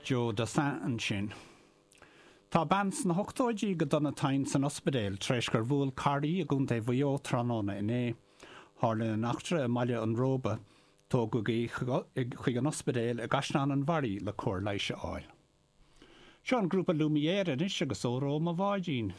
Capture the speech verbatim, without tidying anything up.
Joe Dassin ansin. Tá bean sna hochtóidí go dona tinn san ospidéal tar éis gur bhuail carr í i gContae Mhaigh Eo tráthnóna inné. Tharla an eachtra i mBaile an Róba. Tógadh í chuig an ospidéal i gCaisleán an Bharraigh le cóir leighis a fháil. Seo an grúpa Lumière anois agus Óró mo bháidín.